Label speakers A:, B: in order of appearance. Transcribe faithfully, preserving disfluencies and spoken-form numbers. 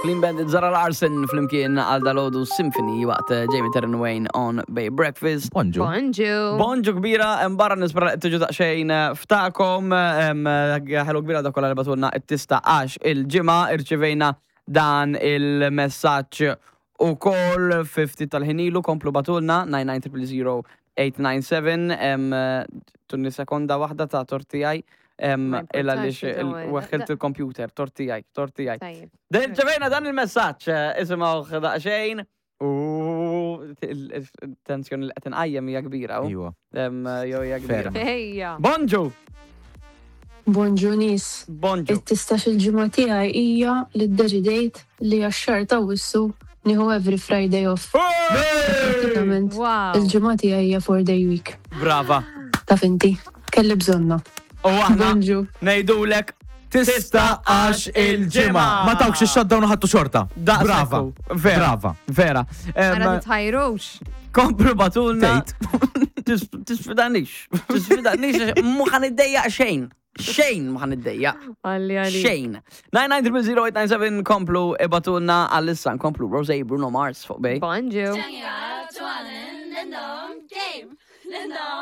A: Clean Bandit, Zara Larsson flimkien għal dalgħodu Symphony waqt eh, Jamie Terran Wayne on Bay Breakfast.
B: Bonġu.
C: Bonġu.
A: Bonġu kbira, hemm barra nispera li tiġu daqsxejn eh, ftakom, em, eh, ħelu kbira dak kollha li bagħtulna it-tista għax il-ġimgħa irċivejna dan il-messaġġ ukoll ftit tal-ħin ilu. Komplu bagħtulna nine nine zero zero eight nine seven. em, Tuni sekonda waħda ta' tortijaj
C: Ma
A: illa li
C: importax, id-dawel.
A: weħħilt il-computer, tortijaj, tortijaj.
C: Tajjeb.
A: Irċevejna dan il-messaġġ, eh, isimgħu daqsxejn. U il-tensjoni li qed inqajjem hija kbira. U.
B: Iwa.
A: Em, Jew hija kbira.
B: Ferm.
C: Ejja.
A: Bonġu!
D: Bonġu nies.
A: Bonġu.
D: It-tistax il-ġimgħa tiegħi hija li ddeċidejt li għax-xahar ta' Awwissu nieħu every Friday off. Pratikament
C: Wow.
D: il-ġimgħa tiegħi hija four day week.
A: Brava.
D: Taf inti, kelli bżonna.
A: U aħna
D: Bonġu.
A: ngħidulek
B: Tista għax il-ġimgħa. Ma tawkx il-shutdown u ħadtu xorta.
A: Daqshekk
B: Brava.
A: hu. Vera.
B: Brava.
A: Vera. Em,
C: Ara titħajrux.
A: Komplu bagħtulna.
B: Tgħid.
A: Tisfidanix. Tisfidanix. Mhu ħa niddejjaq xejn. Xejn mhu ħa niddejjaq.
C: Għalli għalli.
A: Xejn. nine nine zero zero eight nine seven, komplu ibagħtulna. Għalissa nkomplu Rose, Bruno Mars fuq Bay.
C: Bonġu.
E: 酱牙转人能 game，能